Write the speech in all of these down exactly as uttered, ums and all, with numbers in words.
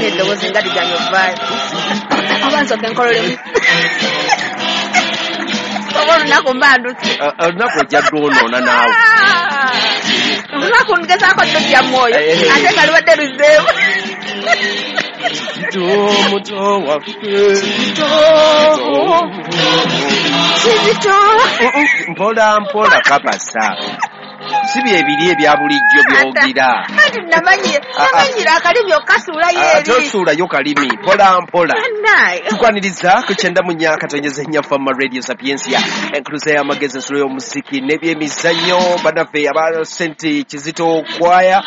Eddoboozi nga liganya ovaayo. Oba nsooke nkololemu. Oba olunaku mba ndutse. Olunaku ojja lwonoona naawe. Olunaku ngezaako ddotya mwoyo ate nga lubadde luzzeemu. Kizito muto waffe. Kizito. Kizito. Mpola mpola kapasa. Si byebiri ebya bulijjo byogira. Anti namanyira akalimi okasuulayo eri. Ate osuulayo kalimi mpola mpola. Tukwaniriza ku kyenda mu nnya katonyeza nnya Fama Radio Sapientia. Enkuluza y'amagezi ensulo y'omuziki n'ebyemizannyo bannaffe aba Saint Kizito Choir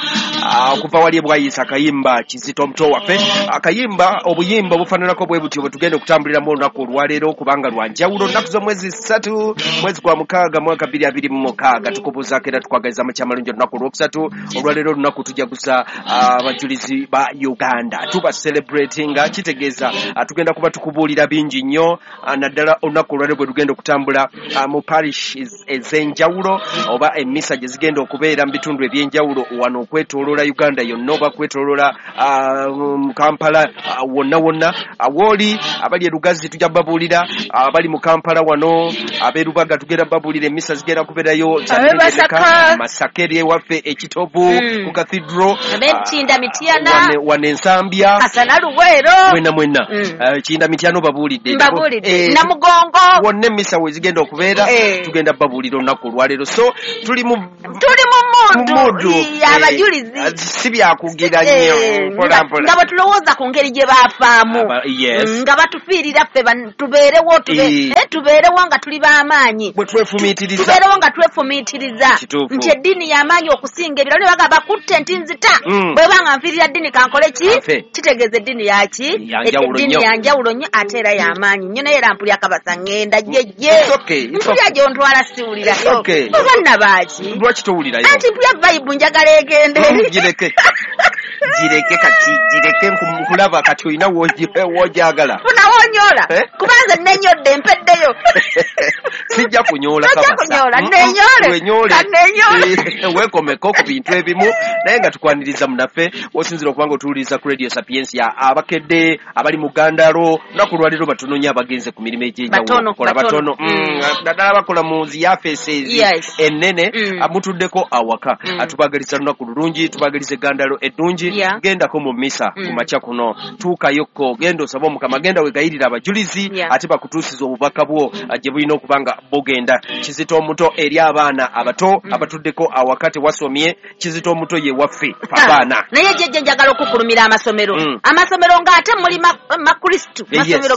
okuva wali e Bwayisa akayimba Kizito muto waffe. Akayimba obuyimba obufaananako bwe butyo bwe tugenda okutambuliramu olunaku olwaleero kubanga lwa njawulo. Nnaku z'omwezi ssatu mwezi gwa mukaaga mwaka bbiri abiri mu mukaaga tukubuuzaako era tukwagaliza amakya olunaku olwokusatu olwaleero olunaku tujaguza abajulizi ba Uganda. Tuba celebratinga kitegeeza tugenda kuba tukubuulira bingi nnyo naddala olunaku olwaleero bwe tugenda okutambula mu parish ez'enjawulo oba emmisa gye zigenda okubeera mu bitundu eby'enjawulo wano okwetooloola Uganda yonna oba kwetooloola Kampala wonna wonna. Awooli abali e Lugazi tujja babuulira, abali mu Kampala wano ab'e Lubaga tugenda babuulira emmisa zigenda kubeerayo Masaka eri ewaffe Ekitovu ku Cathedral, ab'Ekinda Mityana, wano Ensambya, Kasana Luweero, mwena mwena Kinda Mityana babuulidde, mbabuulidde Namugongo, wonna emmisa we zigenda okubeera tugenda babuulira olunaku olwaleero. So tuli mu tuli mu muddu y'abajulizi, si byakugira nnyo mpola mpola nga bwe tulowooza ku ngeri gye baafaamu nga batufiirira ffe tubeerewo tubeerewo nga tuli b'amaanyi, bwe twefumiitiriza tubeerewo nga twefumiitiriza nti eddiini y'amaanyi okusinga ebirala. Ne bagamba bakutte nti nzita bwe banga nfiirira ddiini kankole ki, kitegeeza eddiini yaki, eddiini ya njawulo nnyo ate era y'amaanyi nnyo. Naye era mpulira kabasa ŋŋenda jjejje, mpulira gy'ontwala siwulirayo oba nnabaaki, lwaki towulirayo? Anti mpulira vibe njagala egende. Gireke gireke kati gireke nkulaba kati olina w'ogyagala. Funa w'onyoola kubanze nenyodde mpeddeyo. Sijja kunyoola kabasa. Sijja kunyoola, nenyoole. Kanenyoole. Weekomeko ku bintu ebimu naye nga tukwaniriza munnaffe osinzira okubanga otuwuliriza ku Radio Sapientia. Abakedde abali mu Gandalo lunaku lwaleero batono nnyo abagenze ku mirimu egy'enjawulo okukola batono naddala bakola mu zi yafeesi ennene mutuddeko awaka. Tubagaliza lunaku lulungi, tubagaliza Gandalo eddungi. Gendako mu misa ku makya kuno, tuukayokko, genda osaba Omukama, genda wegayirira abajulizi ate bakutuusiza obubaka bwo gye bulina okuba nga bugenda. Kizito omuto eri abaana abato abatuddeko awaka tewasomye, Kizito omuto ye waffe abaana. Naye jjejje njagala okukulumira amasomero, amasomero ng'ate muli makristu, masomero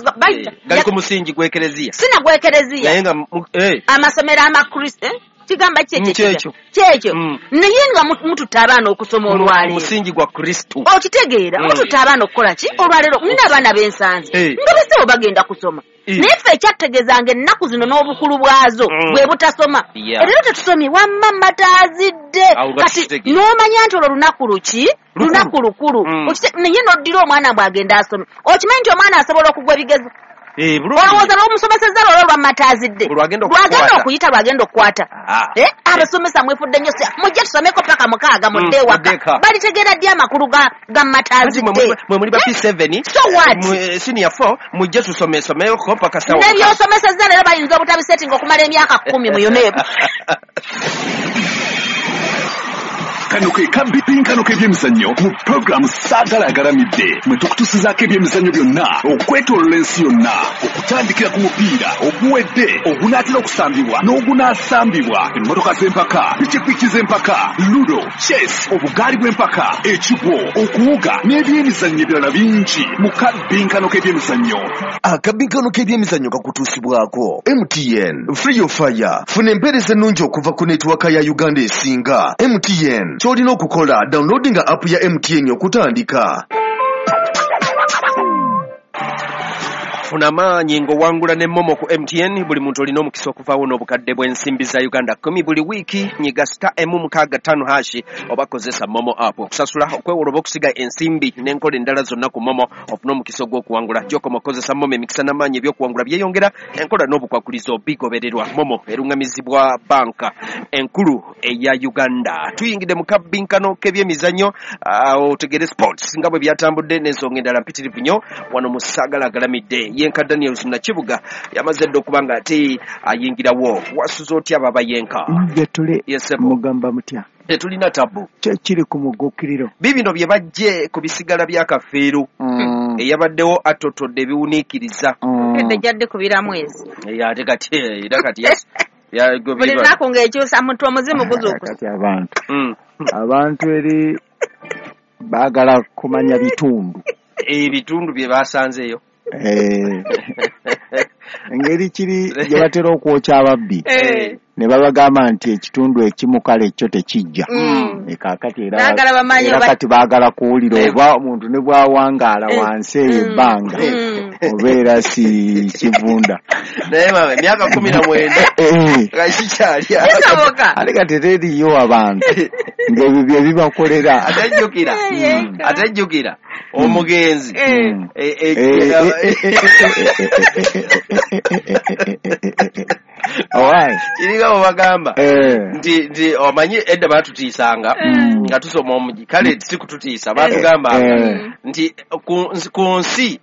gali ku musingi gw'ekereziya, sina gw'ekereziya naye nga amasomero amakristu kigamba kyekyo kyekyo naye nga mututta abaana okusoma olwaleero musingi gwa Kristu okitegeera, mututta abaana okukola ki olwaleero. Nina abaana b'ensanze nga basewo bagenda kusoma naye ffe ekyategeezanga ennaku zino n'obukulu bwazo bwe butasoma. Leero tetusomye wamma mataazidde kati n'omanya nti olwo lunaku luki, lunaku lukulu naye n'oddira omwana bw'agenda asome. Okimanyi nti omwana asobola okugwa ebigezo olowooza lw'omusomeseza lwolwo lwamataazidde lwagenda okuyita lwagenda okukwata. Abasomesa mwefudde nnyo, mujje tusomeko paka mukaaga mudde ewaka. Balitegeera ddi amakulu ga mataazidde? Mwe muli ba P seven, so what, senior four, mujje tusomesomeko paka sawa. N'ebyosomeseza leero bayinza obutabisetinga okumala emyaka kkumi mu UNEB. Kano ke kabipinkano k'ebyemizannyo mu puroguramu Saagala Agalamidde mwe tukutusizaako ebyemizannyo byonna okwetooloola ensi yonna, okutandikira ku mupiira oguwedde, ogunaatera okusambibwa n'ogunaasambibwa, emmotoka z'empaka, pikipiki z'empaka, ludo, chess, obugaali bw'empaka, ekigwo, okuwuga n'ebyemizannyo ebirala bingi mu kabinkano k'ebyemizannyo. Akabinkano k'ebyemizannyo kakutuusibwako M T N Free Your Fire. Funa empeereza ennungi okuva ku netiwaka ya Uganda esinga. M T N ky'olina okukola downloadinga app ya M T N okutandika. Funa amaanyi ng'owangula ne Momo ku M T N. Buli muntu olina omukisa okuvaawo n'obukadde bw'ensimbi za Uganda kumi buli wiiki. Nyiga star emu mukaaga ttaano hashi oba kozesa Momo app okusasula, okwewola oba okusiga ensimbi n'enkola endala zonna ku Momo ofune omukisa ogw'okuwangula. Gy'okoma okukozesa Momo, emikisa n'amaanyi eby'okuwangula byeyongera, enkola n'obukwakulizo bigobererwa. Momo eruŋŋamizibwa banka enkulu eya Uganda. Tuyingidde mu kabbinkano k'ebyemizannyo, otegere sports nga bwe byatambudde n'ensonga endala mpitirivu nnyo wano mu Saagala Agalamidde. Yenka Daniels Nakibuga yamaze dda okuba nga ate ayingirawo. Wasuze otya baba Yenka? Jetule mugamba mutya? Tetulina tabu. Kiri ku mugukiriro. Bibino bye bajje ku bisigala bya Kafeero. Mm. Eyabaddewo atotodde ebiwuniikiriza. Kedde jadde kubira mwezi. Ate kati era kati yes. Buli lunaku ng'ekyusa muntu omuzimu guzuukusa. Kati abantu. Mm. Abantu eri baagala kumanya bitundu. Ebitundu bye basanzeeyo. Engeri kiri gye batera okwokya ababbi ne babagamba nti ekitundu ekimu kale ekyo tekijja. Kaakati era kati baagala kuwulira oba omuntu ne bw'awangaala wansi eyo ebbanga obeera si kivunda. Naye mama emyaka kumi na mwenda nga kikyali ate kati teriiyo abantu ng'ebyo bye bibakolera. Ate jjukira ate jjukira omugenzi kiringa bwe bagamba nti nti omanyi edda baatutiisanga nga tusoma omugi, kale si kututiisa, baatugambanga nti ku nsi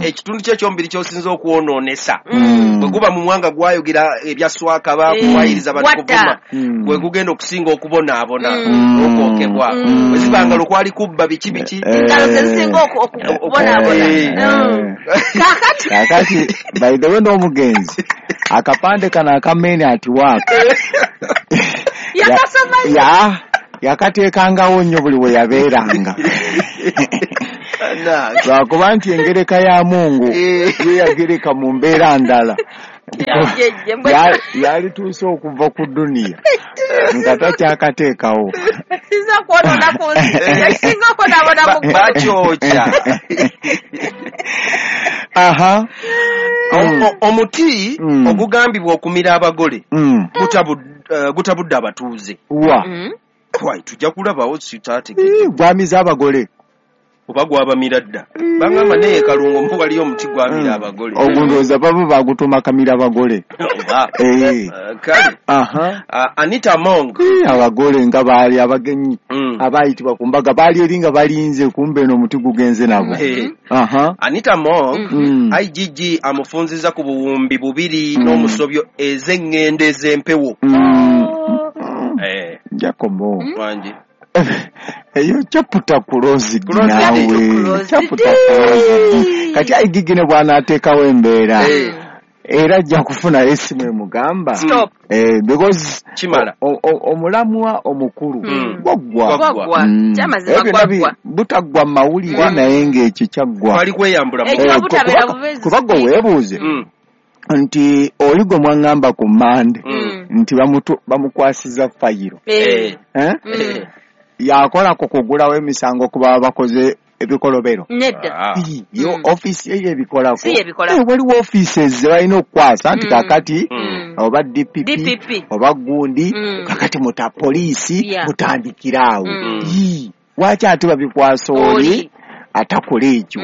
ekitundu kye ekyomubiri ky'osinza okwonoonesa bwe guba mu mwanga gwayogera ebya swakaba kuwayiriza batukuvuma gwe gugenda okusinga okubonaabona n'okwokebwa. Bwe zibanga lwokwali kubba biki biki engalo ze zisinga okubonaabona. Kaakati kaakati by the way n'omugenzi akapande kano akamene ati waaka yakasoma ya yakateekangawo nnyo buli we yabeeranga. Lwakuba nti engereka ya Mungu ye yagereka mu mbeera ndala. Yalituuse okuva ku duniya nga takyakateekawo. Bakyokya. Aha. Omuti ogugambibwa okumira abagole gutabudde abatuuze. Wa? Tujja kulabawo sitaategedde. Gwamiza abagole. Oba gwabamira dda. Bangamba naye Kalungu mbu waliyo omuti gwamira abagole. Ogwo ndowooza baba bagutuma kamira abagole. Kale. Anita Among. Abagole nga baali abagenyi abayitibwa ku mbaga baali eri nga balinze kumbe eno omuti gugenze nabo. Anita Among I G G amufunziza ku buwumbi bubiri n'omusobyo ez'eŋŋendo ez'empewo. Jacobo. Wangi. Eyo chaputa kulozi nawe chaputa kulozi kati I G G ne bw'anaateekawo embeera era ajja kufuna esimu emugamba eh because kimala omulamwa omukulu gwaggwa gwaggwa kyamazima gwaggwa butaggwa mawulire naye ng'ekyo kyaggwa bali kweyambula kuba gwe weebuuze nti oli gwe mwaŋŋamba ku Mmande nti bamukwasiza fayiro eh yakola ku kugulawo emisango kuba bakoze ebikolobero. Nedda. Yo office ye ebikolako. Waliwo offices ze balina okukwasa nti kakati oba D P P oba gundi kakati muta poliisi mutandikira awo. Lwaki ate babikwasa oli atakola ekyo?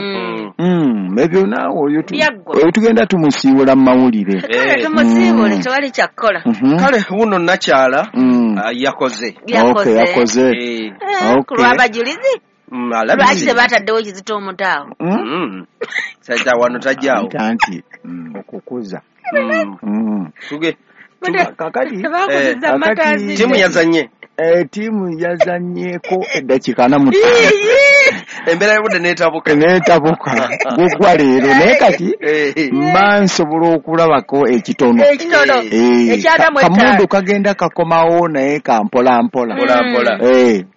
Ebyo naawe oyo tugenda tumusiibula mu mawulire. Kale tumusiibule tewali kyakkola. Kale wuno nakyala yakoze. Yakoze. Ku lw'abajulizi? Lwaki tebataddewo kizito omuto awo? Sajja wano tajjaawo. Anti okukuza. Tuge. Kakati ttiimu yazannye. Ttiimu yazannyeko eddakiika ana mu ttaano. Embeera y'obudde n'etabuka. N'etabuka. Gugwa leero naye kati mba nsobola okulabako ekitono. Ekitono. Ekyadamu etaano. Kamundu kagenda kakomawo naye ka mpola mpola. Mpola mpola.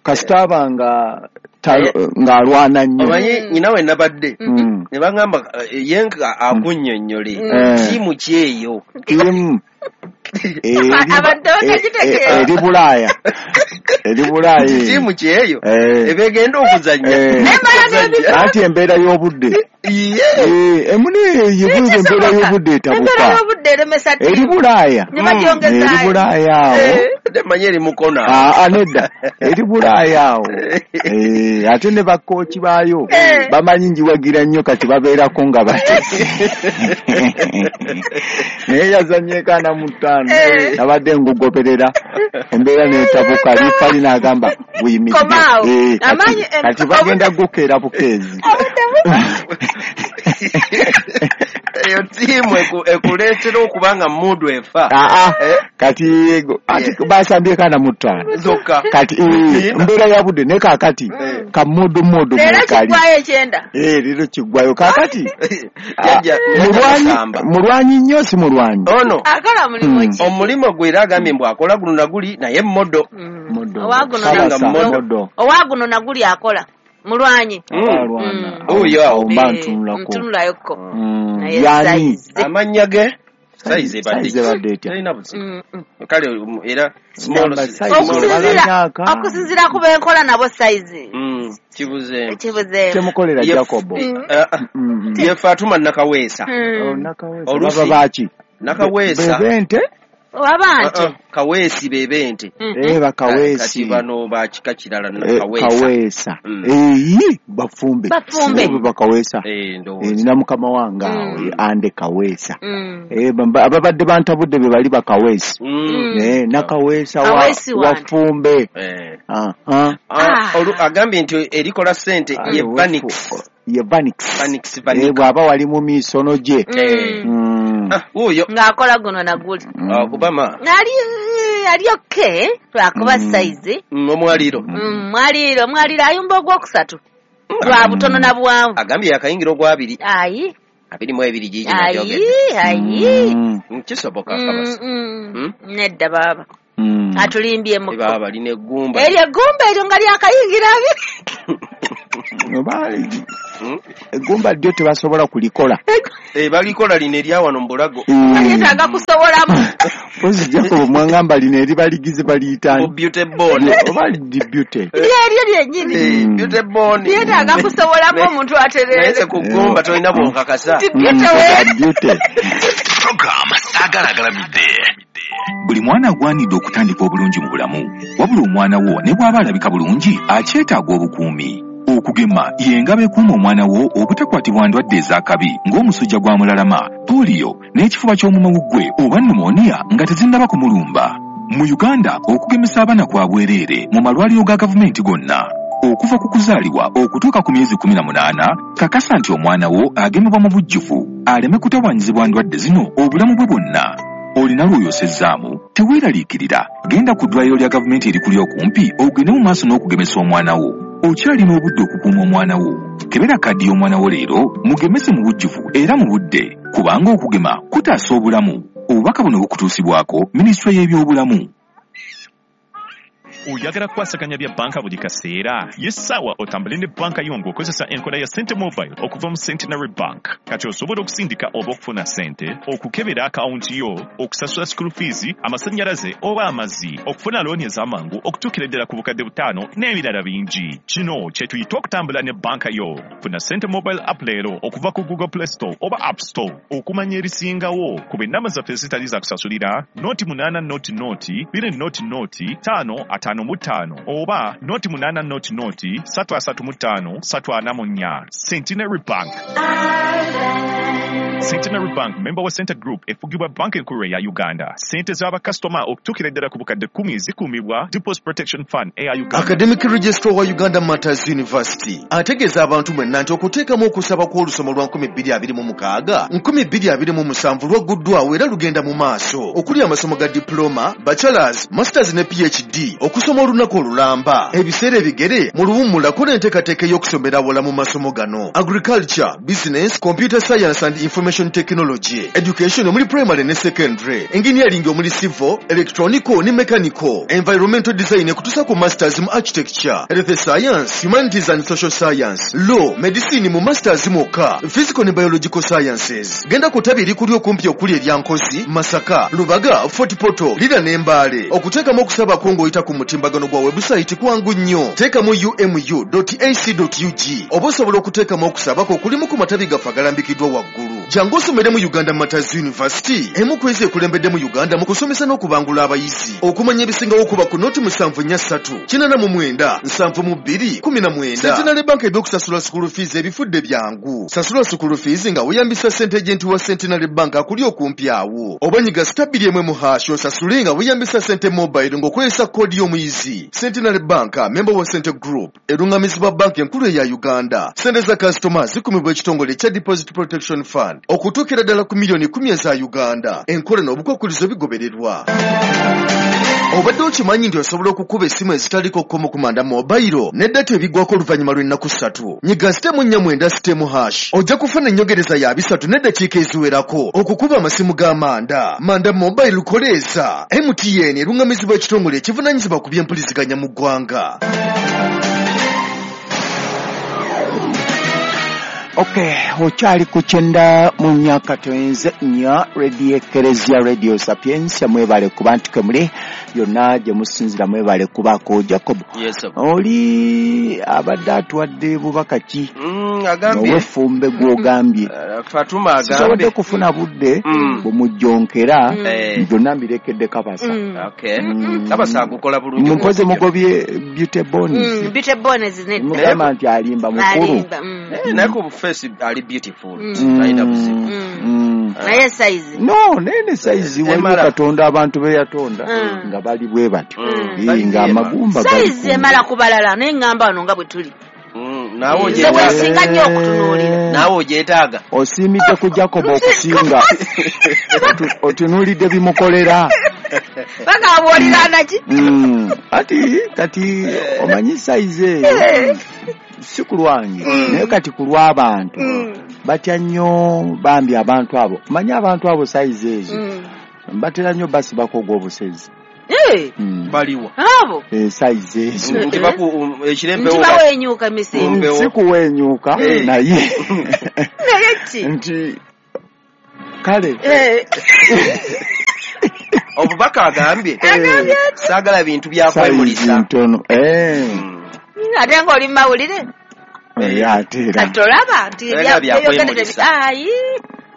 Kasita aba nga ng'alwana nnyo. Omanyi nnyina we nabadde ne bagamba ye nga akunnyonnyole ttiimu ki eyo? Ttiimu. Eri Bulaaya. Eri Bulaaya. Ttiimu ki eyo? Ebegenda okuzannya. Anti embeera y'obudde. Emune yebuuza embeera y'obudde etabuka. Embeera y'obudde eremesa ttiimu. Eri Bulaaya. Ne Eri Bulaaya awo. Manyi eri Mukono. Aa nedda. Eri Bulaaya awo. Ate ne bakooki baayo bamanyi njiwagira nnyo kati babeerako nga batesi. Naye yazannyeko ana mu ttaano. Nabadde ngugoberera embeera n'etabuka liifali n'agamba buyimiridde. Kati bagenda gukeera bukeezi. Eyo ttiimu ekuleetera okuba nga mmudu efa. Kati basambyeko ana mu ttaano. Zokka. Kati embeera ya budde naye kaakati kamudu mudu Leero kiggwayo ekyenda. Leero kiggwayo kaakati. Mulwanyi nnyo si mulwanyi. Ono. Akola mulimu ki? Omulimu gwe era agambye mbu akola guno na guli naye mmodo. Owa guno na guli akola. Mulwanyi. Oyo awo mba ntunulako. Ntunulayo-ko. Yani. Amannya ge? Sayizi ebadde etya? Terina buzibu. Kale era small okusinziira ku benkola nabo sayizi. Kibuzeemu. Kibuzeemu. Kyemukolera Jacobo. Ye Fatuma Nakaweesa. Baba baaki? Nakaweesa. Bebente? Wabante. Kaweesi bebente. Eh bakaweesi. Kati bano ba kika kirala Nakaweesa. Kaweesa. Eh bafumbe. Bafumbe. Bakaweesa. Eh ndowooza. Nina mukama wange awo ande Kaweesa. Eh ababadde bantabudde be bali bakaweesi. Eh Nakaweesa wa wafumbe. Eh. Ah ah. Agambye nti erikola ssente ye Banix. Ye Banix. Banix Banix. Eh bw'aba wali mu misono gye. Wuuyo. Ng'akola guno na guli. Kubama. Ali ali okay lwakuba sayizi. Omwaliiro. Mwaliiro mwaliiro ayumba ogwokusatu. Lwa butono na buwanvu. Agambye yakayingira ogwabiri. Ayi. Abiri mu ebiri gigi nagyogedde. Ayi ayi. Kisoboka kabasa. Nedda baaba. Atulimbye muko. Baaba lina eggumba. Eryo eggumba eryo nga lyakayingira abiri. Eggumba ddyo tebasobola kulikola. Eh balikola lino erya wano mu bulago. Balyetaaga kusobolamu. Mpozi Jacob mwangamba lino eribaligize baliyita. Beauty bone. Oba li beauty. Lyeryo lyennyini. Beauty bone. Lyetaaga kusobolamu omuntu atereere. Naye ku ggumba tolina bw'onkakasa. Beauty. Program Saagala Agalamidde. Buli mwana agwanidde okutandika obulungi mu bulamu. Wabula omwana wo ne bw'aba alabika bulungi akyetaaga obukuumi. Okugema y'engabo ekuuma omwana wo obutakwatibwa ndwadde ez'akabi ng'omusujja gwa mulalama, pooliyo n'ekifuba ky'omumawuggwe oba pneumonia nga tezinnaba kumulumba. Mu Uganda okugemesa abaana kwa bwereere mu malwaliro ga gavumenti gonna. Okuva ku kuzaalibwa okutuuka ku myezi kumi na munaana, kakasa nti omwana wo agemebwa mu bujjuvu aleme kutawaanyizibwa ndwadde zino obulamu bwe bwonna. Olina lw'oyosezzaamu teweeraliikirira, genda ku ddwaliro lya gavumenti erikuli okumpi ogende mu maaso n'okugemesa omwana wo. Okyalina obudde okukuuma omwana wo. Kebera kaddi y'omwana wo leero mugemese mu bujjuvu era mu budde, kubanga okugema kutaasa obulamu. Obubaka buno bukutuusibwako Minisitule y'ebyobulamu. Oyagala kukwasaganya bya banka buli kaseera? Ye ssaawa otambule ne banka yo ng'okozesa enkola ya Sente Mobile okuva mu Centenary Bank. Kati osobola okusindika oba okufuna ssente, okukebera akawunti yo, okusasula school fees, amasannyalaze oba amazzi, okufuna looni ez'amangu okutuukira ddala ku bukadde butaano n'ebirala bingi. Kino kye tuyita okutambula ne banka yo. Funa Sente Mobile app leero okuva ku Google Play Store oba App Store. Okumanya ebisingawo ku ennamba zaffe ezitali za kusasulira noti munaana noti noti bbiri noti noti ttaano ataano mu ttaano oba noti munaana noti noti ssatu asatu mu ttaano ssatu ana mu nnya. Centenary Bank. Centenary Bank member wa Center Group efugibwa banka enkulu eya Uganda. Ssente z'abakasitoma okutuukira ddala ku bukadde kkumi zikuumibwa Deposit Protection Fund eya Uganda. Academic Registrar wa Uganda Matters University ategeeza abantu mwenna nti okuteekamu okusaba kw'olusoma lwa nkumi bbiri abiri mu mukaaga nkumi bbiri abiri mu musanvu lwagguddwawo era lugenda mu maaso okuli amasomo ga diploma, bachelors, masters ne PhD okusoma olunaku olulamba ebiseera ebigere mu luwummula kola enteekateeka ey'okusomera awala mu masomo gano: agriculture, business, computer science and Information Technology, Education omuli Primary ne Secondary, Engineering omuli Civil, Electronical ne Mechanical, Environmental Design ekutuusa ku Masters mu Architecture, Health Science, Humanities and Social Science, Law, Medicine mu Masters mwokka, Physical ne Biological Sciences. Genda ku ttabi erikuli okumpi okuli erya Nkozi, Masaka, Lubaga, Fort Portal, Lira ne Mbale. Okuteekamu okusaba kwo ng'oyita ku mutimbagano gwa website kwangu nnyo. Teekamu u m u dot a c dot u g oba osobola okuteekamu okusaba kwo okulimu ku matabi gaffe agalambikiddwa waggulu. Jangu osomere mu Uganda Martyrs University, emu ku ezo ekulembedde mu Uganda mu kusomesa n'okubangula abayizi. Okumanya ebisingawo okuba ku noti musanvu nnya ssatu kinaana mu mwenda nsanvu mu bbiri kumi na mwenda. Centenary Bank ebyokusasula school fees ebifudde byangu. Sasula school fees nga weeyambisa ssente agent wa Centenary Bank akuli okumpi awo. Oba nyiga star bbiri emu mu hash osasule nga weeyambisa ssente mobile ng'okozesa koodi y'omuyizi. Centenary Bank, member wa Cente Group, erungamizibwa banki enkulu eya Uganda. Ssente za kasitoma zikumibwa ekitongole ekya Deposit Protection Fund okutuukira ddala ku miliyoni kkumi eza Uganda. Enkola n'obukwakkulizo bigobererwa. Obadde okimanyi nti osobola okukuba essimu ezitaliko kkomo ku Manda Mobile ne data ebiggwako oluvannyuma lw'ennaku ssatu. Nyiga sitemu nnya mwenda sitemu hash ojja kufuna ennyongereza ya bisatu n'eddakiika eziwerako okukuba amasimu ga Manda. Manda Mobile koleeza. M T N erungamizibwa ekitongole ekivunaanyizibwa ku by'empuliziganya mu ggwanga. Okay, okyali ku kyenda mu myaka toyinze nnya Radio Ekereziya Radio Sapientia, mwebale kuba nti kwe muli yonna gye musinzira, mwebale kubaako. Jacob, Yes, sir. oli abadde atuwadde bubaka ki? Mm, agambye ow'effumbe gw'ogambye. Uh, Fatuma agambye sisobodde kufuna budde Mm. bumujjonkera Eh. byonna mbirekedde Kabasa. Mm. Okay. Mm. Kabasa agukola bulungi. Mumpoze mugobye Beauty Bones. Mm, Beauty Bones nedda. Mugamba nti alimba mukulu. Alimba, mm. Eh, naye ku face ali beautiful. Mm. Talina buzibu. Mm. Mm. Naye size. No, naye ne size waliwo Emala. Katonda abantu be yatonda Mm. nga bali bwe batyo. Mm. Eh, nga amagumba gali Size ku- emala ku balala naye ŋŋamba wano nga bwe tuli. Mm, naawe Nze ogyetaaga. weesinga nnyo okutunuulira. Naawe ogyetaaga. Osiimidde ku Jacob okusinga. Otu- Otunuulidde bimukolera. Bagamba bw'oliraana ki? Mm. Ati kati omanyi size eyo si ku lwange naye kati ku lw'abantu batya nnyo bambi abantu abo. Omanyi abantu abo size ezo Mm. batera nnyo basibako ogw'obusezi. Eh, Mm. Baliwa. abo Eh, size ezo Nti baku um, ekirempewo. nti bawenyuuka emisinde. Mpewo. si kuwenyuuka Eh. naye Naye ki? nti kale Eh, Obubaka agambye. Agambye ati? Saagala bintu bya size kwemulisa. ntono. Eh. Mm. Ate ng'oli mu mawulire. Eh, ate era Kati tolaba nti Era ebya- bya byeyogedde kwemulisa. tebi- Ayi,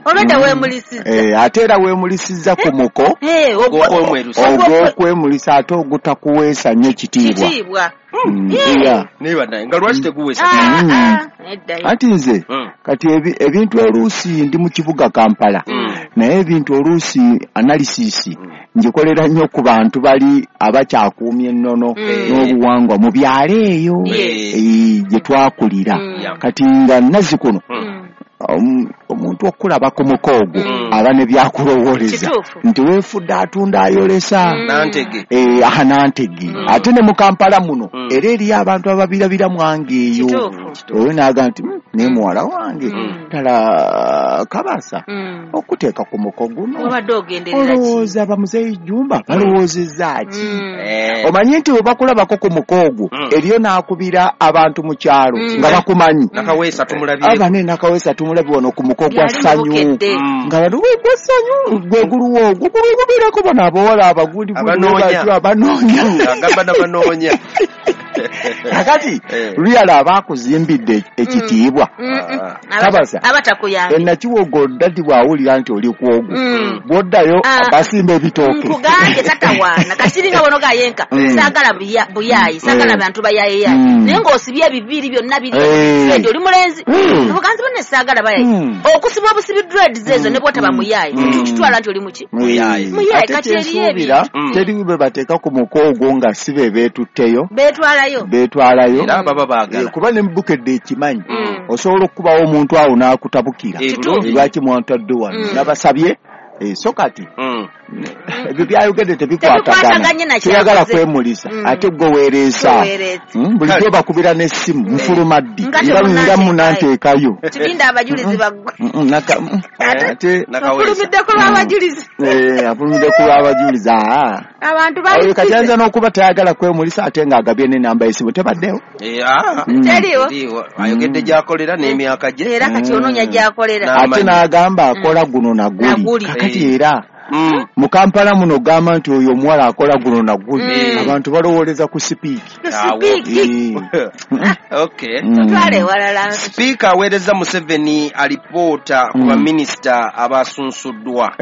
olwedda weemulisizza. Eh, ate era weemulisizza ku muko Eh, ogwo- Ogw'okwemulisa. ogw'okwemulisa ate ogutakuweesa nnyo kitiibwa. Kitiibwa. Mm, Yeah. yeah. Naye bannaye nga lwaki teguweesa? Ah, Mm. ah, nedda. Anti nze Mm. kati ebi- ebintu oluusi ndi mu kibuga Kampala Mm. naye ebintu oluusi analysis ngikolera nnyo ku bantu bali abakyakuumya ennono Mm. n'obuwangwa mu byalo eyo Yes. eh, gye twakulira. Mm. Yeah. Kati nga nnazi kuno Mm. omu- omuntu okulaba ku muko ogwo Mm. aba ne byakulowooleza Kituufu. nti weefudde atunda ayolesa. Mm. Nantege. Eh, aha nantege. Mm. Ate ne mu Kampala muno Mm. era eriyo abantu ababirabira mwange eyo. Kituufu. Oyo n'agamba nti "Mm, naye muwala wange Mm. ddala Kabasa Mm. okuteeka ku muko guno Wabadde ogenderera ki? olowooza bamuzeeyi Jumba balowoozezza ki?" Mm. Eh. Omanyi nti bwe bakulabako ku muko ogwo Mm. eriyo n'akubira abantu mu kyalo Mm. nga bakumanyi. Nakaweesa tumulabye. Aba ne Nakaweesa tumulabye wano ku muko gwa Yali mu Ssanyu. Bukedde. Mm. Nga bano gwe gwa Ssanyu gwe guluwo ogwo gulugubeerako bano abawala abagundi Abanoonya. batyo abanoonya. Agamba n'abanoonya. Kakati Eh. luyala aba akuzimbidde ekitiibwa. Mm, mm. Ah. Aba- Kabasa. Aba takuyambye. Enakiwogo dadi bw'awulira nti oli ku ogwo Mm. bw'oddayo Ah. basimba ebitooke. Nkugambye tatawaana kati nga bono gayenka Mm. saagala buya- buyaayi saagala Mm. bantu bayaayeyayi Mm. naye ng'osibye ebiviiri byonna biri Eh. dread oli mulenzi Mm. obuganzi bonna saagala bayayi Mm. okusiba obusibi dreads ezo ne bwotaba muyaayi Mm. tukitwala nti oli muki Muyaayi. Muyaayi, Ate kati eriyo kyensuubira Mm. teri bwe bateeka ku muko ogwo nga si be beetutteyo beetwalayo beetwalayo Era baba Eh, baagala. kuba ne Bukedde ekimanyi Mm. osobola okukubawo omuntu awo n'akutabukira Eh, Kituufu. bulungi. lwaki mwantadde wano Mm. nabasabye Eh, so kati Mm. Ebyo byayogedde tebikwatagana, toyagala kwemulisa, ate gwe weereesa. Bulijjo bakubira n'essimu nfuluma ddi nga munanteekayo. Tulinda abajulizi baggwe. Ate afulumiddeko lw'abajulizi. Afulumiddeko lw'abajulizi. Abantu bali kati ayinza n'okuba tayagala kwemulisa ate ng'agabye n'ennamba y'essimu tebaddewo. Teriwo. Ayogedde gy'akolera n'emyaka gye. Era kati onoonya gy'akolera. Ate n'agamba akola guno na guli. Kakati era mu Kampala muno ogamba nti oyo omuwala akola guno na guli, abantu balowooleza ku sipiiki. Sipiika aweereza Museveni alipoota ku baminisita abasunsuddwa.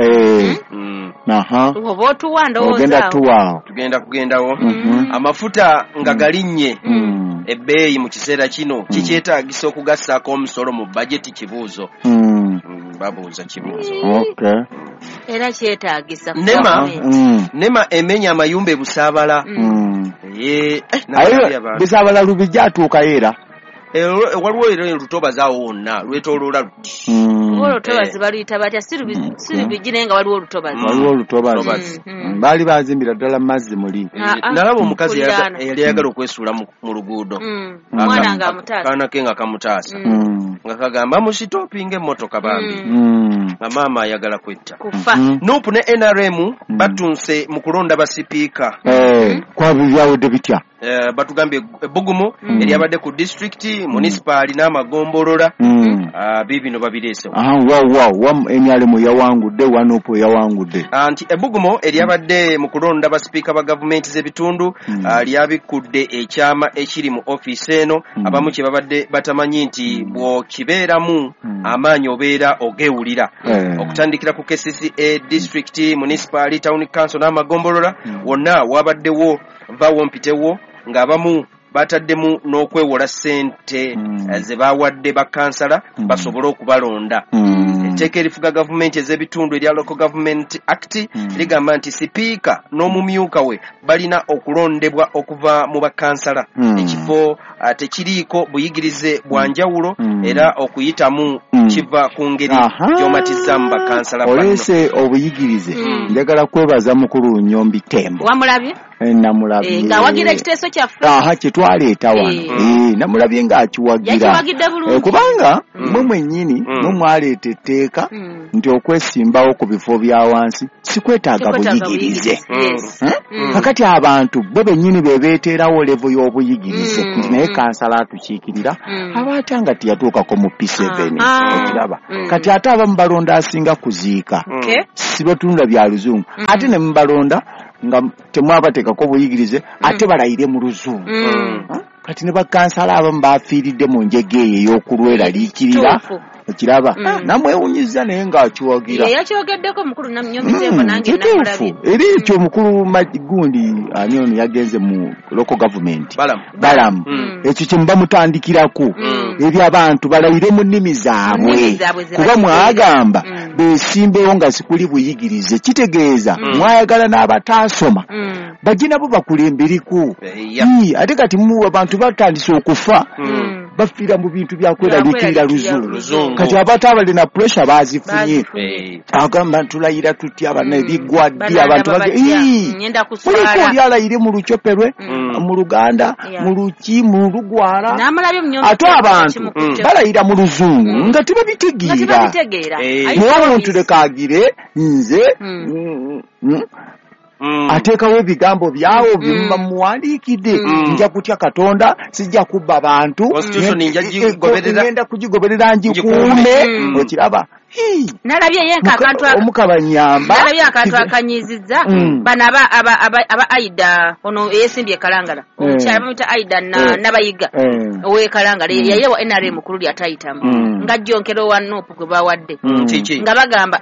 Oba otuwa ndowooza ogenda tuwaawo. Tugenda kugendawo. Amafuta nga galinnye ebbeeyi mu kiseera kino, kikyetaagisa okugassaako omusolo mu bajeti kibuuzo. Babuuza kibuuzo. Era kyetaagisa. Nema Nema emenya amayumba e Busaabala. Busaabala Lubijja atuukayo era. Waliwo era olutobazi awo wonna lwetooloola luti. Oba olutobazi baluyita batya? Si Lubijji naye nga waliwo olutobazi. Waliwo olutobazi. Baali bazimbira ddala mu mazzi muli. Nalaba omukazi eyali ayagala okwesuula mu luguudo. Omwana ng'amutaasa. Kaana ke nga kamutaasa. Nga kagamba musitopinga emmotoka bambi. Nga maama ayagala kwetta. Kufa. Nuupu ne N R M batunse mu kulonda basipiika. Kwabyo byawedde bitya? Batugambye ebbugumu eryabadde ku disitulikiti, munisipaali n'amagombolola, biibino babireesewo. Wa N R M yawangudde, wa Nuupu yawangudde. Nti ebbugumu eryabadde mu kulonda basipiika ba gavumenti z'ebitundu lyabikkudde ekyama ekiri mu ofiisi eno, abamu kye babadde batamanyi nti bw'okibeeramu amaanyi obeera ogeewulira. Okutandikira ku K C C A, disitulikiti, munisipaali, town council n'amagombolola, wonna wabaddewo vaawo mpitewo ng'abamu bataddemu n'okwewola ssente ze bawadde bakansala basobole okubalonda. Etteeka erifuga gavumenti ez'ebitundu erya Local Government Act ligamba nti sipiika n'omumyuka we balina okulondebwa okuva mu bakansala. Ekifo tekiriiko buyigirize bwa njawulo era okuyitamu kiva ku ngeri gy'omatizaamu bakansala banno. Oleese obuyigirize, njagala kwebaza mukulu Nyombi Tembo. Wamulabye? Namulabye. Ng'awagira ekiteeso kyaffe. Aha, kye twaleeta wano. Namulabye ng'akiwagira. Yakiwagidde bulungi. Kubanga mmwe mwennyini mmwe mwaleeta etteeka nti okwesimbawo ku bifo bya wansi si kwetaaga buyigirize. Kakati abantu bo bennyini be beeteerawo levo y'obuyigirize nti naye kansala atukiikirira aba ate nga teyatuukako mu P seven okiraba. Kati ate abamu balonda asinga kuziika, si batunula bya luzungu, ate ne mubalonda nga temwabateekako buyigirize ate balayire mu luzungu. Kati ne bakansala abamu bafiiridde mu njega eyo ey'okulweraliikirira okiraba. Namwewunyizza naye ng'akiwagira. Yakyogeddeko mukulu Nyombi Tembo nange namulabye. Era ekyo mukulu gundi ani ono yagenze mu local government Balamu, ekyo kye muba mutandikirako ebyo abantu balayire mu nnimi zaabwe, kuba mwagamba beesimbewo nga sikuli buyigirize, kitegeeza mwayagala n'abataasoma bajje nabo bakulembereko. Ate kati mu abantu batandise okufa bafiira mu bintu bya kweraliikirira luzungu. Kati abantu abalina pressure bazifunye, agamba tulayira tutya bana ebigwa ddi abantu buliko oli alayire mu Luchoperwe, mu Luganda, mu Luki, mu Lugwara, ate abantu balayira mu luzungu nga tebabitegeera. Naye omuntu leka agire nze ateekawo ebigambo byawo bye muwandiikidde, nja kutya Katonda, sijja kubba bantu, ngenda kugigoberera ngikuume, okiraba. Nalabye yenka akantu omukabanyamba, nalabye akantu akanyizizza bano aba aba aba Aida ono eyesimbye Kalangala, omukyala bamuyita Aida Nabayiga ow'e Kalangala, yayewa N R M mukulu lyatayitamu nga jjonkero wa Nuupu gwe bawadde nga bagamba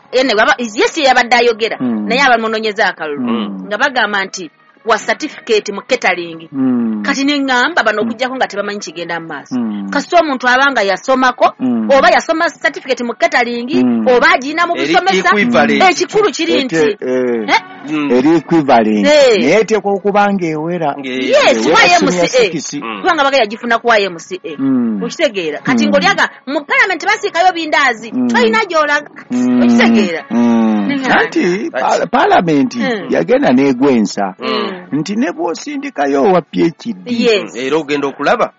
yesi yabadde ayogera naye abamunoonyeza akalulu nga bagamba nti wa certificate mu catering. Mm. Kati ne ngamba bano okujjako nga tebamanyi kigenda mu maaso. Mm. Kasita omuntu abanga yasomako mm. oba yasoma certificate mu catering mm. oba agina mu busomesa ekikulu kiri nti eh eri equivalent naye eteekwa okuba ng'ewera. Yes, Y M C A. Kubanga baga yagifuna ku Y M C A. Okitegeera. Kati ng'olyaga mu parliament basiikayo bindaazi tolina gy'olaga. Okitegeera. Anti palamenti yagenda n'egwensa nti ne bw'osindikayo owa P H D era ogenda okulaba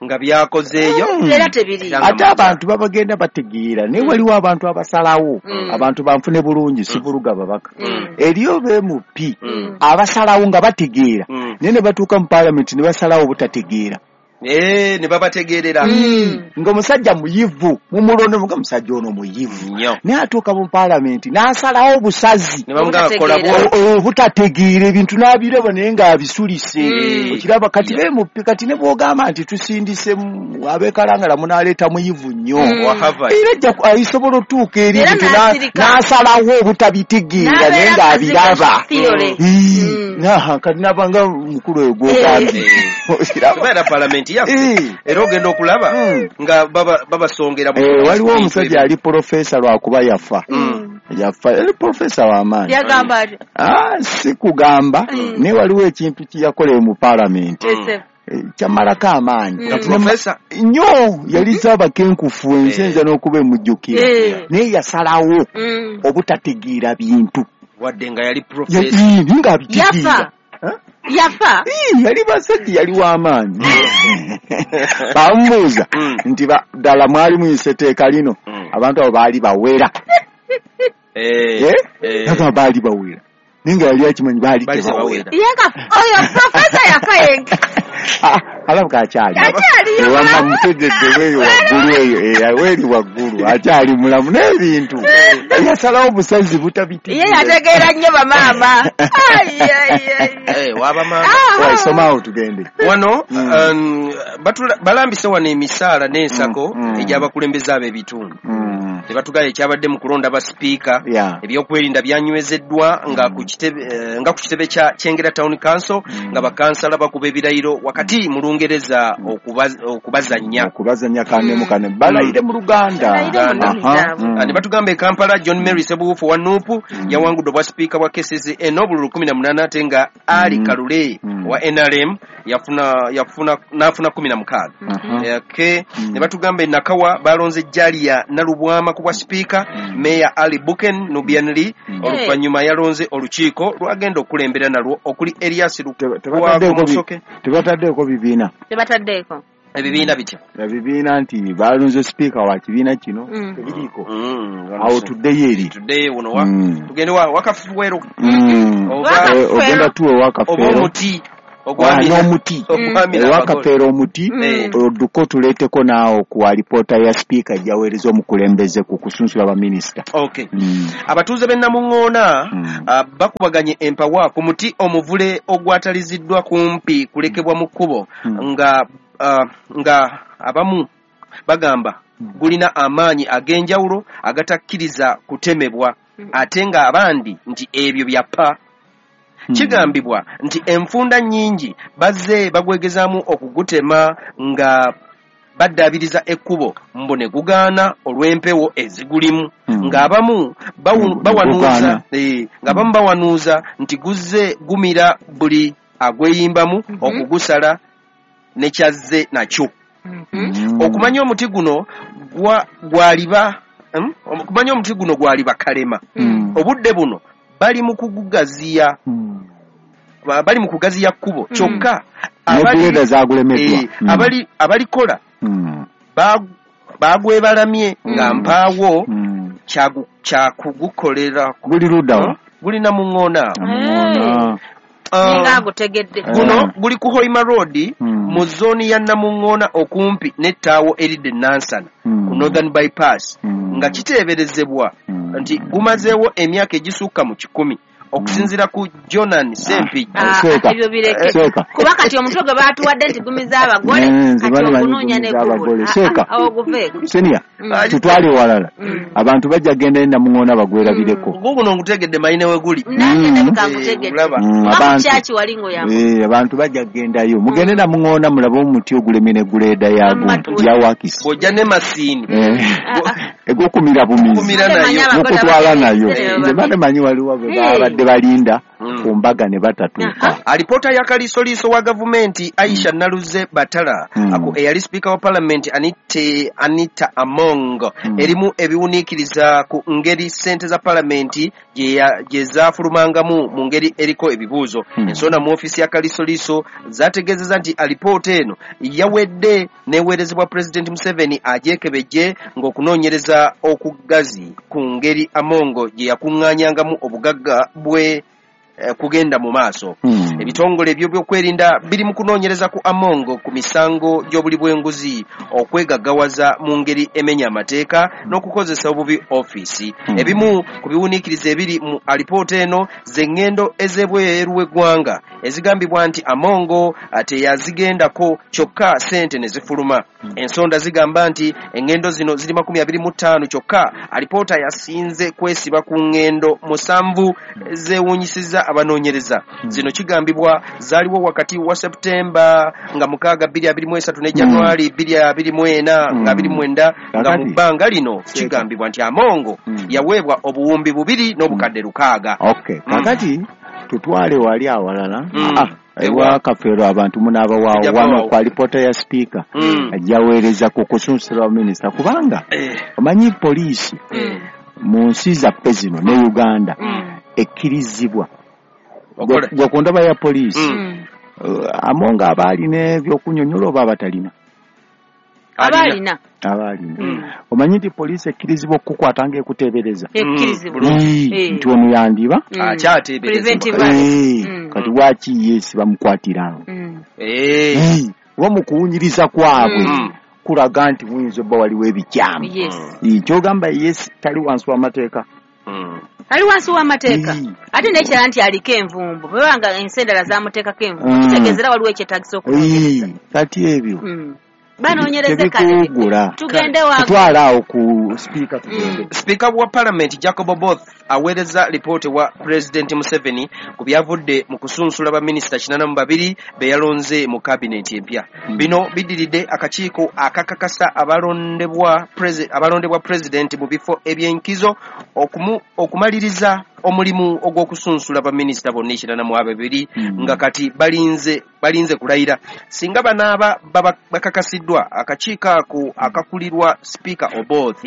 nga byakozeeyo era tebiri. Ate abantu babagenda bategeera naye waliwo abantu abasalawo abantu banfune bulungi si buluga babaka eriyo be M P abasalawo nga bategeera naye ne batuuka mu palamenti ne basalawo obutategeera. Eh, ne babategeerera ng'omusajja muyivu mumulondo nga musajja ono muyivu naye atuuka mu palamenti n'asalawo obusazi ne bamugamba kola obutategeera ebintu n'abiraba naye ng'abisulise. Okiraba kati be M P kati ne bw'ogamba nti tusindise ab'e Kalangala munaaleeta muyivu nnyo era ajja asobola otuuka eri ebintu n'asalawo obutabitegeera naye ng'abiraba. Kati nabanga mukulu oyo gw'ogambye era palamenti era ogenda okulaba nga babasongera. Waliwo omusajja ali profesa lwakuba yafa yafa ali profesa w'amaanyi si kugamba naye waliwo ekintu kye yakola mu palamenti kyamalako amaanyi nnyo yaliza abakenkufu ensi enza n'okuba emujjukira naye yasalawo obutategeera bintu wadde nga yali profesa ng'abitegeera. Yafa yali basajja yali w'amaanyi. Bamubuuza nti ddala mwali muyise etteeka lino abantu abo baali bawera agamba baali bawera naye nga yali akimanyi baali tebawera. Oyo profesa yafa yenka alabika akyali ewamma mutegedde weeyo waggulu eyo weeri waggulu akyali mulamu n'ebintu yasalawo obusazi butabitegeera. Ye yategeera nnyo bamaama. Somawo tugende wano. Balambise wano emisaala n'ensako egy'abakulembeze ab'ebitundu tebatugala ekyabadde mu kulonda basipiika. Ebyokwerinda byanywezeddwa nga ku kitebe kya Kyengera Town Council nga bakansala bakuba ebirayiro wakati mu Lungereza okubazannya okubazannya kanemu kane balayire mu Luganda. Ne batugamba e Kampala John Mary Sebuwufu wa N U P yawangudde obwa sipiika bwa K C C A n'obululu kumi na munaana ate nga Ali Kalule wa N R M yafuna yafuna n'afuna kumi na mukaaga. Ne batugamba e Nakawa balonze Jalia Nalubwama ku bwa sipiika, Meya Ali Buken Nubian Lee oluvannyuma yalonze olukiiko lwagenda okulembera nalwo okuli Elias Lukwago Musoke. Tebataddeeko bibiina tebataddeeko ebibiina bitya ebibiina nti balonze sipiika wa kibiina kino tebiriiko. Awo tuddeyo eri tuddeyo wuno tugende Wakafuweero ogenda tuwe Wakafeero oba omuti n'omuti Wakafeero omuti odduko tuleeteko naawo ku alipoota ya sipiika gyaweereza omukulembeze ku kusunsula baminisita. Abatuuze b'e Namuŋŋoona bakubaganye empawa ku muti omuvule ogwataliziddwa kumpi kulekebwa mu kkubo nga nga abamu bagamba gulina amaanyi ag'enjawulo agatakkiriza kutemebwa ate nga abandi nti ebyo byappa. Kigambibwa nti enfunda nnyingi bazze bagwegezaamu okugutema nga baddaabiriza ekkubo mbu ne gugaana olw'empewo ezigulimu ng'abamu bawanuuza ng'abamu bawanuuza nti guzze gumira buli agweyimbamu okugusala ne kyazze nakyo. Okumanya omuti guno gwaliba okumanya omuti guno gwaliba kalema obudde buno bali mu kugugaziya bali mu kugaziya kkubo kyokka abali abalikola bagwebalamye nga mpaawo kyakugukolera guli luddawa guli Namuŋŋoona. Guno guli ku Hoima Road mu zooni ya Namuŋŋoona okumpi n'ettaawo eridde Nansana ku Northern Bypass nga kiteeberezebwa nti gumazeewo emyaka egisukka mu kikumi okusinziira ku Jonan Sempijja. Ebyo bireke kuba kati omutwe gwe baatuwadde nti gumiza abagole kati ogunoonya ne gubula awo guveeko. Senior tutwale walala abantu bajja genda e Namuŋŋoona bagwerabireko. Guguno ngutegedde mayine we guli nange ndabika ngutegedde abantu bajja gendayo mugende Namuŋŋoona mulabe omuti ogulemye ne guleeda yago yawakisi bw'ojja ne masiini egokumira bumizi mukutwala nayo nze mbadde manyi waliwo bwe babadde balinda ku mbaga ne batatuuka. Alipoota ya kaliisoliiso wa gavumenti Aisha Naluze Batala ako eyali sipiika wa palamenti Anita Among erimu ebiwuniikiriza ku ngeri ssente za palamenti gye zaafulumangamu mu ngeri eriko ebibuuzo. Ensonda mu ofiisi ya kaliisoliiso zategeezezza nti alipoota eno yawedde n'eweerezebwa Pulezidenti Museveni agyekebejje ng'okunoonyereza okugazi ku ngeri Amongo gye yakuŋŋaanyangamu obugagga bwe kugenda mu maaso. Ebitongole eby'ebyokwerinda biri mu kunoonyereza ku Amongo ku misango gy'obuli bw'enguzi, okwegaggawaza mu ngeri emenya amateeka n'okukozesa obubi ofiisi. Ebimu ku biwuniikiriza ebiri mu alipoota eno z'engendo ez'ebweru w'eggwanga ezigambibwa nti Amongo teyazigendako kyokka ssente ne zifuluma. Ensonda zigamba nti engendo zino ziri makumi abiri mu ttaano kyokka alipoota yasinze kwesiba ku ngendo musanvu zeewuunyisizza abanoonyereza. Zino kigambibwa zaaliwo wakati wa Septemba nga mukaaga bbiri abiri mu esatu ne Januari bbiri abiri mu ena nga abiri mu mwenda, nga mu bbanga lino kigambibwa nti Amongo yaweebwa obuwumbi bubiri n'obukadde lukaaga. Okay, kakati tutwale wali awalala ewa Kafeero abantu munaabawawo wano ku alipoota ya sipiika ajjaweereza ku kusunsula minisita, kubanga omanyi poliisi mu nsi zaffe zino ne Uganda ekkirizibwa gwe ku ndaba ya poliisi Amongo aba alina ebyokunyonnyola oba abatalina? Aba alina. Aba alina. Omanyi nti poliisi ekkirizibwa okukukwata ng'ekuteebereza nti ono yandiba akyateeberezebwa, kati lwaki ye si bamukwatirawo? Oba mu kuwunyiriza kwabwe kulaga nti muyinza obba waliwo ebikyamu. Ky'ogamba ye tali wansi w'amateeka. Ali wansi w'amateeka. Ate n'ekirala nti aliko envumbo, bwebanga ensi endala zamuteekako envumbo, kitegeeza waliwo ekyetaagisa okunoonyereza. Kati ebyo banoonyereze kale tugende tutwale awo ku sipiika tugende. Sipiika wa palamenti Jacob Oboth aweereza lipooti wa Pulezidenti Museveni ku byavudde mu kusunsula baminisita kinaana mu babiri be yalonze mu kabineti empya. Bino biddiridde akakiiko akakakasa abalondebwa abalondebwa pulezidenti mu bifo eby'enkizo okumaliriza omulimu ogw'okusunsula baminisita bonna ekinaana mu ababiri nga kati balinze balinze kulayira. Singa banaaba bakakasiddwa akakiiko ako akakulirwa Sipiika Oboth,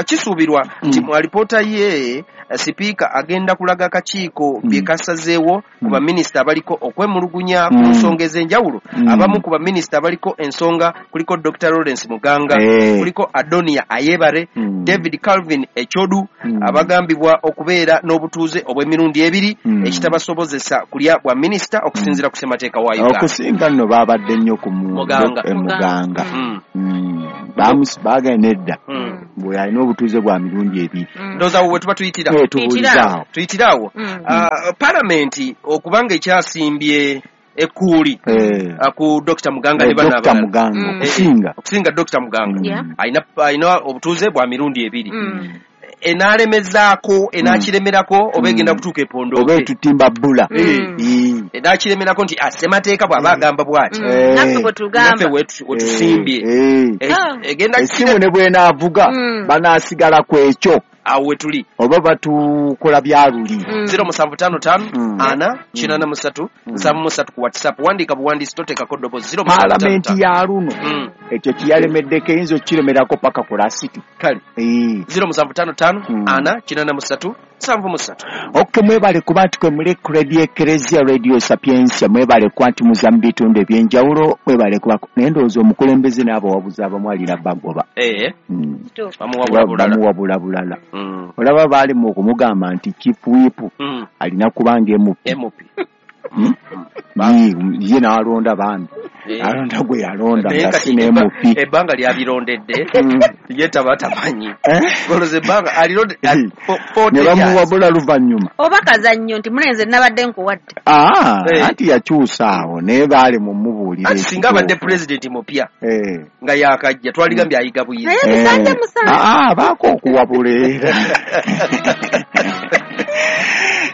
kisuubirwa nti mu alipoota ye sipiika agenda kulaga akakiiko bye kasazeewo ku baminisita abaliko okwemulugunya ku nsonga ez'enjawulo. Abamu ku baminisita abaliko ensonga kuliko Doctor Lawrence Muganga, kuliko Adonia Ayebare, David Calvin Echodu, abagambibwa okubeera n'obutuuze obw'emirundi ebiri ekitabasobozesa kulya bwa minisita okusinziira ku ssemateeka wa Uganda. Okusinga nno baabadde nnyo ku Muganga. Baagenda edda bwe alina obutuuze bwa mirundi ebiri. Ndowooza awo we tuba tuyitira tuyitira awo palamenti okubanga ekyasimbye ekkuuli ku Doctor Muganga ne bano abalala okusinga Doctor Muganga alina obutuuze bwa mirundi ebiri, enalemezaako enakiremerako oba egenda kutuuka epondo oba etutimba bbula enakiremerako nti ssemateeka bw'aba agamba bw'ati naffe wetusimbye egenda essimu ne bw'enaavuga banaasigala ku ekyo awo wetuli oba batukola byaluli. Zero musanvu ttaano ttaano ana kinaana mu ssatu nsanvu mu ssatu ku WhatsApp, wandiika buwandiisi toteekako ddobozi. Zero musanvu ttaano Palamenti ya luno ekyo kiyalemeddeko eyinza okukiremerako paka ku lasiti. Kale zero musanvu ttaano ttaano ana kinaana mu ssatu nsanvu mu ssatu. Okay, mwebale kuba nti kwe muli ku Radio Eklezia, Radio Sapientia, mwebale kuba nti muza mu bitundu eby'enjawulo, mwebale kuba naye ndowooza omukulembeze n'abawabuzi abamu alina bagoba. Bamuwabula bulala. Olaba baali mu okumugamba nti Chief Whip alina kubanga M P. Ye n'alonda bambi alonda gwe yalonda nga si ne M P. Ebbanga lyabirondedde ye taba tamanyi goloza ebbanga alirondedde ne bamuwabula luvannyuma oba kazannyo nti mulenze nabadde nkuwadde. Anti yakyusa awo naye baali mumubuulira anti singa abadde pulezidenti mupya nga yakajja twaligambye ayiga buyizi naye bisanja musanvu baako okuwabula era.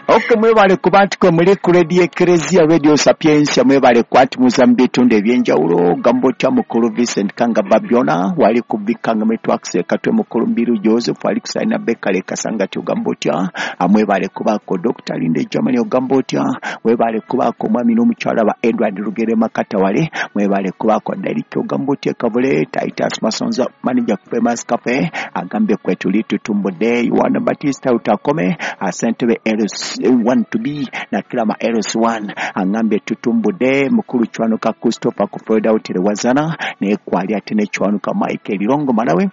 Okay, mwebale kuba nti kwe muli ku Radio Ecclesia, Radio Sapientia, mwebale kuba nti muza mu bitundu ebyenjawulo. Gamba otya mukulu Vincent Kanga Babyona, wali ku Bikanga Networks, Katwe mukulu Mbiru Joseph, wali ku Saina Bekale Kasangati, ogamba otya. Mwebale kubaako Doctor Linde Germany, ogamba otya. Mwebale kubaako mwami n'omukyala ba Edward Rugere Makatawale, mwebale kubaako Derek ogamba otya Kavule, Titus Masonza manager ku Famous Cafe, agambye kwe tuli tutumbudde. Yohana Batista Utakome, asentebe L S one to B na Kilama L S one, angambye tutumbudde. Mukulu Chwanuka Christopher ku Florida Hotel Wazana, ne kwali ate ne Chwanuka Michael Lirongo Malawi,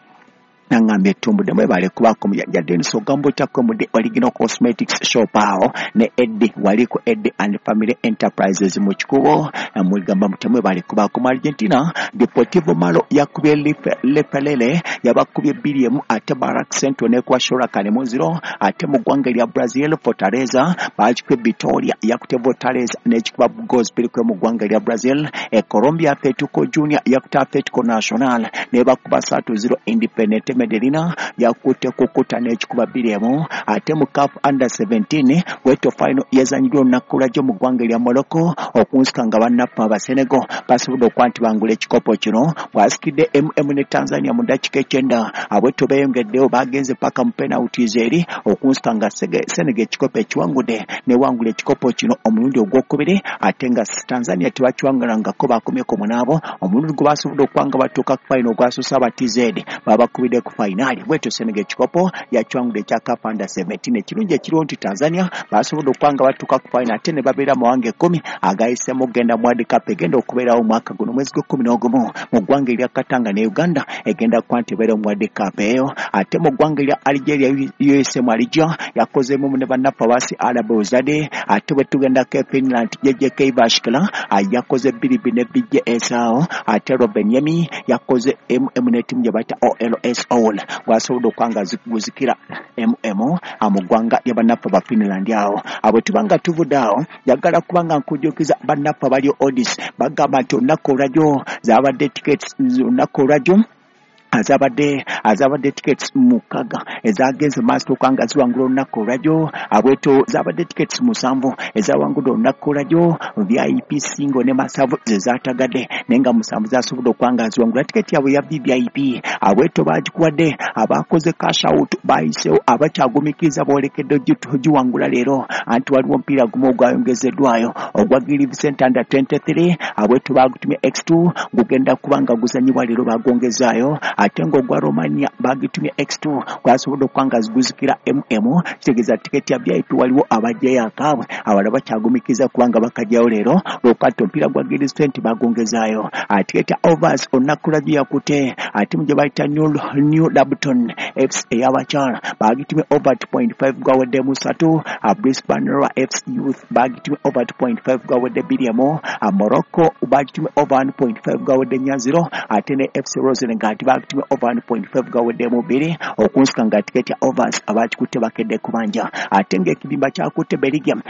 nangambye tumbudde. Mwebale kubaako mujajja Dennis ogamba otya kwe mudde Original Cosmetics Shop awo ne Eddie wali ku Eddie and Family Enterprises mu Kikubo, mugamba mutya mwebale kubaako. Mu Argentina Deportivo Malo yakubye Lepelele yabakubye bbiri emu, ate Barak Central nekuba Shorakane mu zero. Ate mu ggwanga lya Brazil Fortaleza bakikubye Vitória yakute Fortaleza n'ekikuba goals bbiri kwe mu ggwanga lya Brazil. E Colombia Atletico Junior yakute Atletico Nacional nebakuba ssatu zero. Independente Medellin yakute kukuta n'ekikuba bbiri emu. Ate mu CAF Under seventeen weto final yazanyiddwa olunaku lwajjo mu ggwanga lya Morocco, okunsika nga bannaffe aba Senegal basobodde okuba nti bangula ekikopo kino. Bwasikidde M M ne Tanzania mu ddakiika ekyenda, abweto beeyongeddeyo bagenze paka mu penalties eri, okunsika nga Senegal ekikopo ekiwangudde newangula ekikopo kino omulundi ogwokubiri, ate nga Tanzania tebakiwangulangako bakomyeko munaabo. Omulundi gwe basobodde okuba nga batuuka ku final ogwasoose aba T Z babakubidde ku finali. Bwetyo Senegal ekikopo yakiwangudde ekya CAF Under seventeen. Ekirungi ekiriwo nti Tanzania basobodde okuba nga batuuka ku final ate ne babeera mawanga ekkumi agayisemu okugenda mu World Cup egenda okubeerawo omwaka guno mwezi gw'ekkumi n'ogumu mu ggwanga erya Katanga ne Uganda egenda kuba nti ebeera mu World Cup eyo. Ate mu ggwanga erya Algeria U S M Alger yakozeemu ne bannaffe abasi Arab Ozade. Ate bwe tugendako e Finland J J K Bashkala yakoze bbiri bbiri ne B J S awo. Ate Robin Yemi yakoze M M ne ttiimu gye bayita O L S All gwasobodde okuba nga guzikira M M mu ggwanga lya bannaffe ba Finland awo. Abo tuba nga tuvudde awo, njagala kuba nga nkujjukiza bannaffe abali Odis bagamba nti olunaku olwajjo zaabadde tickets, olunaku olwajjo azabadde azabadde tickets mukaga ezagenze maaso okuba nga ziwangula olunaku olwajjo. Abweto zabadde tickets musanvu ezawangudde olunaku olwajjo, V I P single ne masavu ze zaatagadde, naye nga musanvu zasobodde okuba nga ziwangula tiketi yaabwe ya V I P. Abweto bagikuwadde abakoze cash out bayiseewo, abakyagumikiriza boolekedde giwangula leero, anti waliwo omupiira gumu ogwayongezeddwayo ogwa Gilive Center Under twenty-three. Abweto bagutumye X two gugenda kuba nga guzanyibwa leero, bagongezaayo. Ate ng'ogwa Romania bagitumye X two gwasobodde okuba nga ziguzikira M M, kitegeeza tiketi ya V I P waliwo abajjayo akaabwe, abalala bakyagumikiza kubanga bakajjayo leero lwokati omupiira gwa Gilive Center bagongezaayo. Tiketi ya overs olunaku lwajjo yakute ate mu gye bayita New, New Labton F C ey'abakyala bagitumye over two point five gwawedde musatu. Brisbane Roar F C Youth bagitumye over two point five gwawedde bbiri emu. Morocco bagitumye over one point five gwawedde nnya zero. Ate ne F C Rosengard bagitumye over one point five gawedde mu bbiri, okunsika nga tiketi ya overs abakikutte bakedde kubanja. Ate ng'ekibimba kyakutte Belgium